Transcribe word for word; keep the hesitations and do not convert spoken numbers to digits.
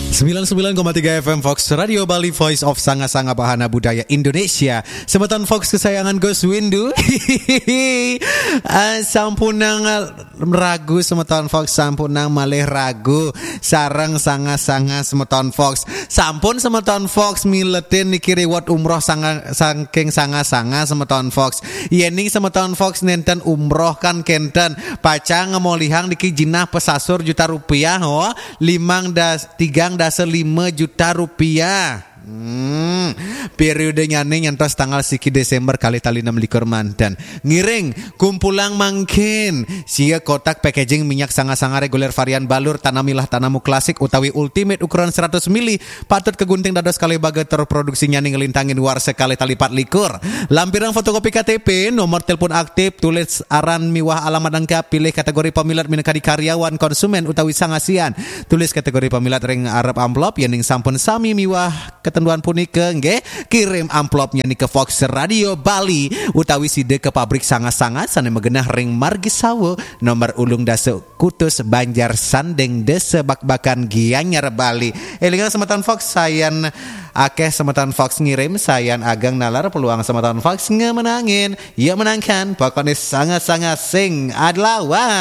Sembilan sembilan koma tiga F M Fox Radio Bali, Voice of Sanga-Sanga Bahana Budaya Indonesia. Semeton Fox kesayangan Gus Windu. Ah, sampunang, ah, ragu semeton Fox, sampunang malih ragu sareng sanga-sanga semeton Fox. Sampun semeton Fox miletin niki reward umroh sanga, saking sanga-sanga semeton Fox. Yening semeton Fox nenten umroh kan kenten, pacang ngemolihang niki jinah pesasur juta rupiah, oh, limang das, tigang dasa lima juta rupiah. Hmm, periode nyane nyantos tanggal siki Desember kalih tali enam likur manten. Ngiring, kumpulang mangkin. Sia kotak packaging minyak sanga-sanga reguler varian balur, tanamilah tanamu klasik utawi ultimate ukuran seratus mili, patut kegunting dados kalih baga tur produksi nyane ngelintangin warsa kalih tali pat likur. Lampirang fotokopi K T P, nomor telepon aktif, tulis aran miwah alamat lengkap, pilih kategori pamilet minangka karyawan, konsumen utawi sangasian. Tulis kategori pamilet ring arep amplop, yening sampun sami miwah ketentuan punika, nggih, kirim amplopnya nika Fox Radio Bali utawi sida ke pabrik sanga-sanga sane magenah ring Margi Sawa, nomor ulung dasa Kutus, Banjar Sanding, Desa Bakbakan, Gianyar, Bali. Elingang semeton Fox, sayan akeh semeton Fox ngirim, sayan ageng nalar peluang semeton Fox ngemenangin. Ya menangkan, pokoknya sanga-sanga sing adlawan.